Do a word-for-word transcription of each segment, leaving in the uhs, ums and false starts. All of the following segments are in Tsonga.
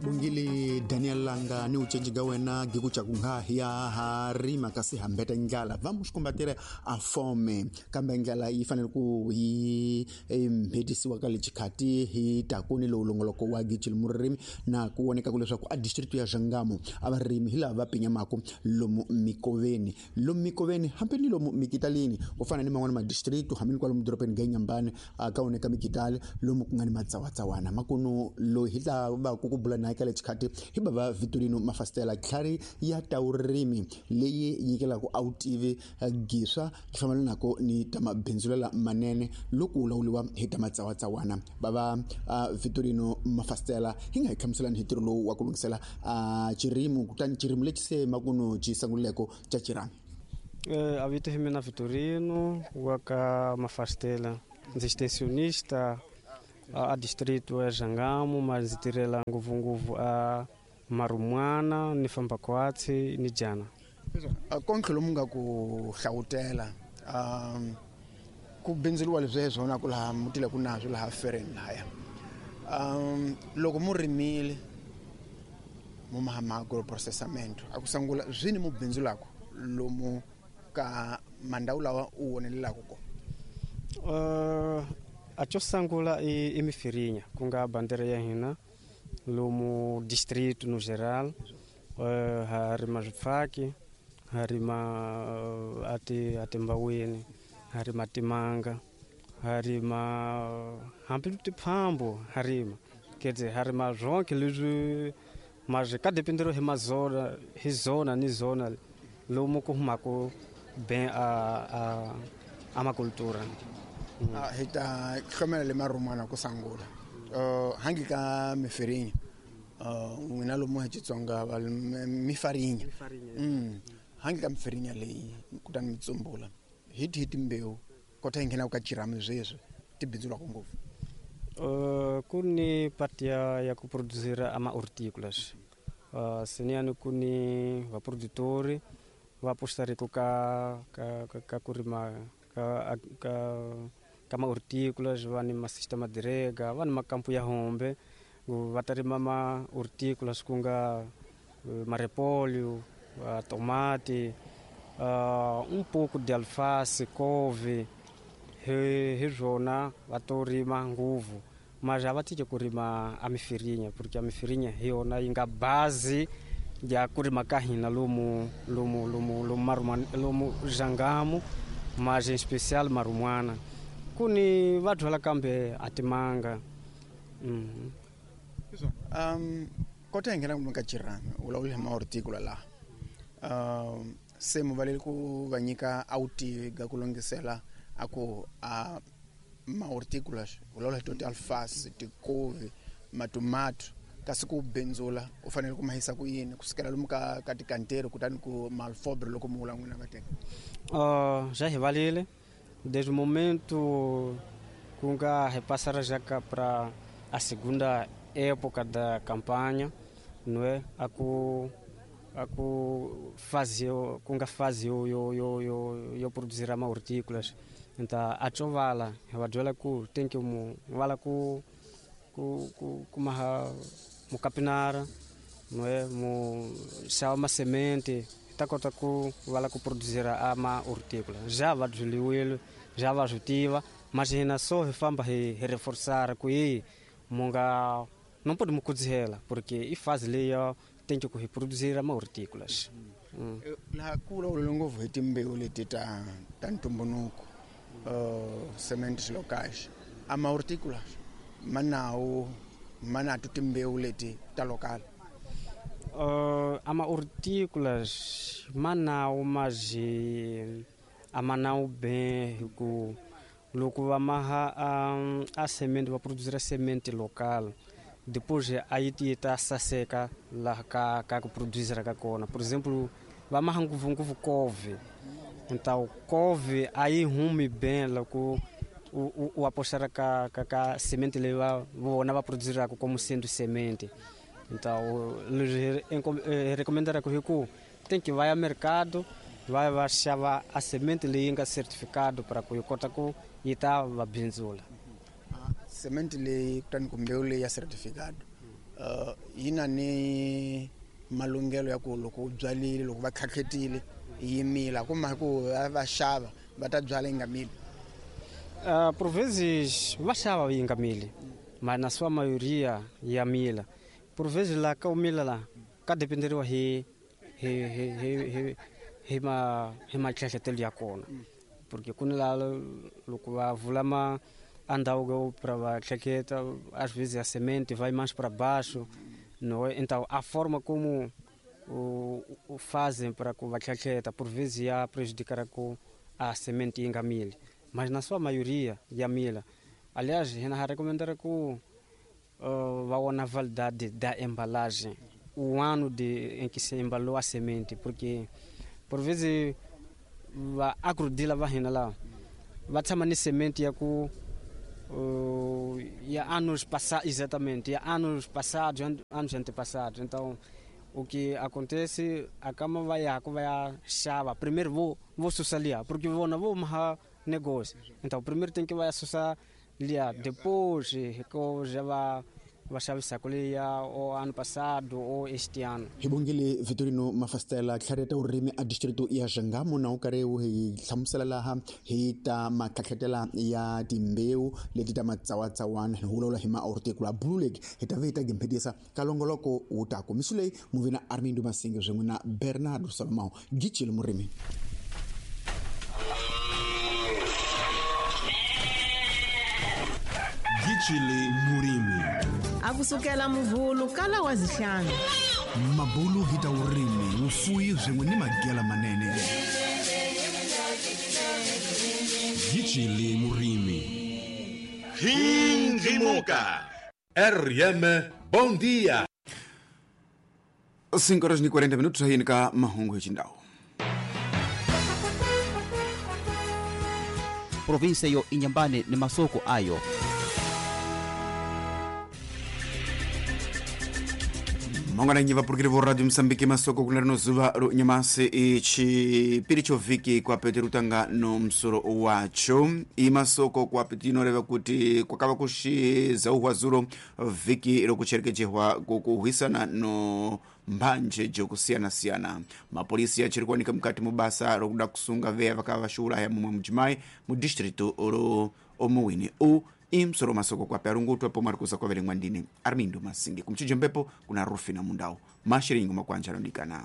Bongile Daniel Langa ni ucenji ga wena gikucha kunga ya harima kasi hambeta ndlala va muxikumbatire a fome kambe ndlala yi fanele ku yi mbhetisiwa ka lechikati hi takuni lowu longoloko wa gichil murimi na ku voneka ku leswaku a district ya Jangamo a varimi hi lava va pinyamako lomu mikoveni lomu mikoveni hambi ni lomu mikitalini ku fana ni man'wana ma district hambi ni kwalomu dorobeni ga Nyambane ka voneka mikitali lomu ku nga ni matsawatsawana makunu loyi hi ta va ku ku bula na ka lechikati hi baba Vitorino Mafastela tlhari ya taurimi leyi nyikelaka awutivi giswa hlamalanako ni ta mabindzulela manene loko u lawuliwa hi ta matsawatsawana baba Vitorino Mafastela hi nga hi hlamuselani hi ntirho lowu wa ku lunghisela chirimu kutani chirimu lexi se makuno xi sunguleko xa chirami. Eh, a vito hi mina Vitorino wa ka Mafastela, ndzi extensionista a distrito ya Jangamo, mas ndzi tirhela ngopfungopfu a Marumwana ni famba kwatsi ni jana. Kontlho lomu nga ku hlawutela um ku bindzuriwa leswi hi swona ku laha mutile ku nazwo laha fereni lahaya um loko mu rimile mu mahama agroprocessamento a ku sungula zwini mu bindzulako lomu ka mandhawu lawa u wonelelaka ko? Uh, a xo sungula i, i mifirinya ku nga bandera ya hina lomu distrito no geral, uh, ha rima swifaki, ha rima uh, ati atimbawini, ha rima timanga, ha rima hambi tiphambo, ha rima quer dizer, ha rima zonke leswi mas ka dependero hi mazona hi zona ni zona lomu ku humaka bem a a a macultura. Mm. Ah, hi ta hlomela le Marumwana ku sungula uh, hangi ka mifirinya n'wina uh, lomu hi Xitsonga va mifarinya mm. hangi ka mifirinya leyi kutani mi tsumbula hi tihi timbewu kota hi nghena ka chirami sweswi ti bindzulaka ngopfu? Uh, ku ni parte ya, ya ku produzir ama hortícolas. Uh, seniano ku ni va produtori va apostariko ka ka ka, ka kurima ka ka ka ma hortícolas, va ni ma sistema de rega, va ni makampo ya hombe va ta rima ma hortícolas ku nga marepolho, tomate, uh, um pouco de alface, couve, hi hi swona va to rima nguvu, mas a va tiki ku rima a mifirinya porque a mifirinya hi yona yi nga base ya ku rima ka hina lomu lomu lomu lomu Marumwana, lomu Jangamo, mas em especial Marumwana ku ni va byala kambe a timanga. Mm. Um kota hi nghena ka chirami u vulavula hi ma horticola laha um se mu valeli ku va nyika awutivi ga ku lunghisela a ku a ma horticolas u vulavula hi to ti-alface, tikovi, matomato, kasi ku bindzula u fanele ku ma yisa ku yini kusukela lomu ka ka tikanteri kutani ku malfobre loko mu vula n'wina va teka? Uh, já hi valile desde o momento ku nga hi passar já ka para a segunda época da campanha, não é? A ku a ku fazer ku nga fase yo yo yo yo, yo produzir ama hortícolas. Então a chovala, va byela ku tem que mu vala ku ku ku ku maha mu capinara, não é? Mu xava ma semente, ta kota ku vala ku produzir ama hortícola. Já va byeliwile, já va swi tiva, mas hina só hi famba hi, hi reforçar ku yi mu nga não pode mu kudzihela porque i fase leyo tem que reproduzir ama hortícolas. Mm. Laha ku vulavula ngopfu hi timbewu leti ta ta ntumbuluko, uh, sementes locais, ama hortícolas ma nawo ma na to timbewu leti ta local? Uh, ama hortícolas ma nawo mas ama nawo bem hi ku loko va maha um, a semente va produzir a semente local, depois a yi ti ta saseka laha ka ka ku produzir ka kona. Por exemplo, va maha ngopfungopfu couve, então couve a yi humi bem loko u, u apostar ka ka ka semente leyi va vona va produziraka como sendo semente. Então leswi hi recomendaraka hi ku tem que vai ao mercado, vai va xava a semente leyi nga certificado para ku yi kota ku yi ta va bindzula. Semente leyi kutani ku mbewu leyi ya certificado uh, Yi na ni malunghelo ya ku loko u byalile loko va tlhatlhetile yi mila kuma ku va xava va ta byala yi nga mili. Uh, por vezes va xava yi nga mili, mas na sua maioria ya mila. Por vezes lá ka u mila la ka dependeriwa hi hi hi hi hi ma hi matlhahletelo ya kona, porque ku ni la loko va vula ma a ndhawu para va tlhetlheta, às vezes a semente vai mais para baixo, não é? Então a forma como o, o fazem para que va tlhetlheta por vezes ia prejudicar com a semente yi nga mili, mas na sua maioria ya mila. Aliás, hina recomendar que uh, va vona validade da embalagem, o ano de em que se embalou a semente, porque por vezes va agrodila va hina la va tshama ni semente ya ku uh, ya anos passados, exatamente, ya anos passados, anos antepassados. Então o que acontece, a cama vai a vai a xava, primeiro vou vou susalia, porque vou não vou mais negócio. Então primeiro tem que vai sussar lia, depois que já vai va xavisa kuliya o ano passado ou este ano. Hi bongile Vitorino Mafastela tlhareta urimi a distrito ya Xangamo na u karhi wu hi hlamusela laha hi ta matlhatlhetela ya timbewu leti ta matsawatsawana hi vulavula hi ma-horticola Blue Lake hi ta ve hi ta gimphedisa ka longoloko wu ta ku misu leyi muvina Armindo Masinge swin'we na Bernardo Salomão Gicile murimi. Gicile murimi. Akusukela muvhulu kala wa zihlanu. Mabulu hi ta urimi vufuyi swin'we ni magela manene. Gicile murimi. Hindimuka. R M Bom dia. cinco horas e quarenta minutos aí ka mahungu hi xindhawu. Província yo Inhambane ni masoko ayo. Mongana nyiva purukire vo Radio Mozambique masoko kuna rino zuva ro nyamasi ichipiri chovhiki kwape tirutanga no musoro wacho imasoko kwape tinoreva kuti kwakava kushizauhwa zuro vhiki rokucherekechehwa kukuhwisana no mbanje jokusiyana-siyana. Mapolisi achiri kuwanika mukati mubasa rokuda kusunga veya vakava vashiuraya mumwe mudzimai mudistritu ro omuwini u imsoro masoko kwape arungutwa pomwe ari kuza kwaverengwa ndini Armindo Masinge kumchijo mbepo kuna Rufina Mundau mashiringo makwanja anodikana.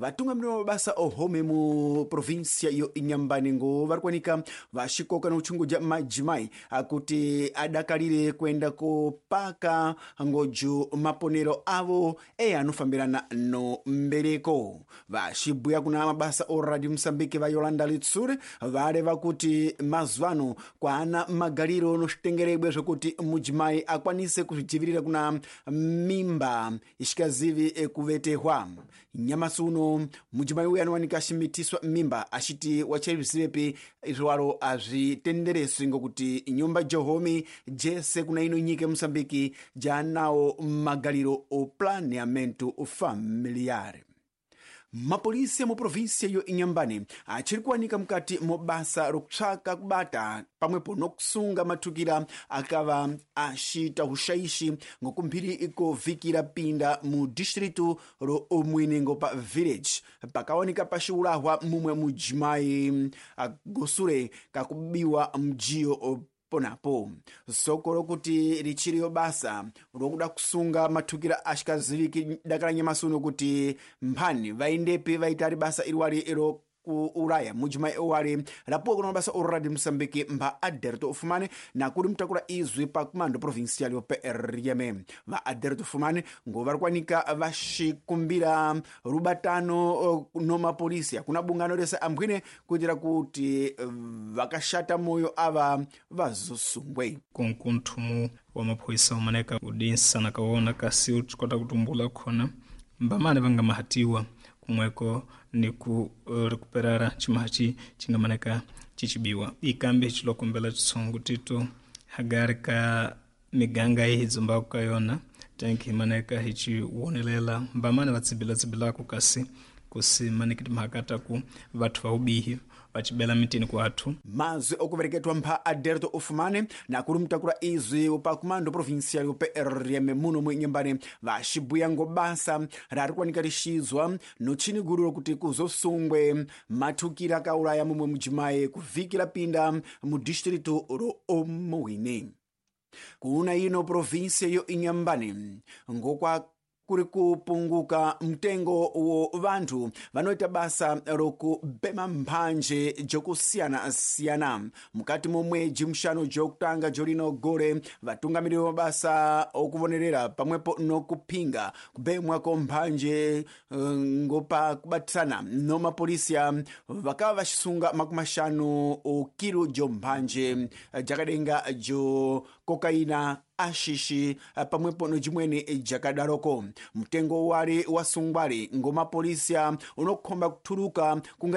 Vatungamiri va mabasa ohome mu província yo Inhambane ngo vari kuwanika vaxikoka nokuchunguja madzimai akuti adakalire kuenda kopaka ngojo maponero avo e anofambirana no mbereko. Vaxibhuya kuna mabasa o Radio Mozambique va Yolanda Litsure vareva kuti mazuva ano kwaana magariro noxitengerebwe zvokuti mudzimai akwanise kuzvidzivirira kuna mimba isikazivi ekuvetehwa. Nyamasi uno mudzimai uyu anowanika achimitiswa mimba achiti wachaizvizivepi izvowaro azvitendereswi ngokuti nyumba jehomi jese kuna ino nyika yeMozambique jaanawo magariro o planeamento familiar. Mapolisi mu província yo Inhambane achiri kuwanika mukati mobasa rokutsvaka kubata pamwepo nokusunga matukira akava achiita ushaishi ngokumphiri ikovhikira pinda mu distritu ro Omwinengo pa village pakaoneka paxiulahwa mumwe mudzimai gosure kakubiwa mjiyo ponapo. Soko rokuti richiriyo basa rokuda kusunga matukira ashikaziviki dakala nyamasi uno kuti mphani vaendepi vaitari basa iriwari iro kuuraya mudzimai owari rapuwa kuna mabasa o Radio Mozambique mpha Aderto Fumane nakuri mutakura izwi pa comando provincial yo P R M. Va Aderto Fumane ngo vari kuwanika vaxikumbira rubatano no mapolisi akuna bungano rese ambwine kuitira kuti vakashata moyo ava vazosungwe. Kunkunthumu wa maphoyisa umaneka udinsa nakawona kasi utikota kutumbula khona mbamane vangamahatiwa kumweko ni ku uh, recuperara chimahachi chingamaneka chichibiwa. Ikambi chilokumbela chitsongo tito hagari ka miganga ihidzomba kukayona tenki imaneka hichiwonelela mbamane vatsibila tsibilako kasi Kusimaniki timhaka ta ku vathu va vubihi va cibela mitini ku athu. Mazwi okuvereketwa mpha Aderto Ufumane na kuli mutakula izwi pa kumando provincial yo P R M muno mu Inhambane vaxibuya ngo basa rari kuwanika lixizwa notchini gulu lokuti kuzosungwe mathukira akaulaya mumwe mujimayi kuvhiki lapinda mu distrito ro Omuwine. Kuna ino província yo Inhambane ngokwa kuri kupunguka mtengo wo vanthu vanoita basa lokubema mphanje jokusiyana-siyana mukati momwedzi muxanu jokutanga jolino gore. Vatungamiriri va mabasa okuvonerera pamwepo nokuphinga kubemwako mphanje ngopa kubatisana no mapolisiya vakava vaxisunga makumi maxanu kilo jo mphanje jakadenga jo kokaina, axixi pamwepo nojimweni jakadaroko. Mtengo wali wasungwali ngomapolisiya unokhomba kuthuluka kunga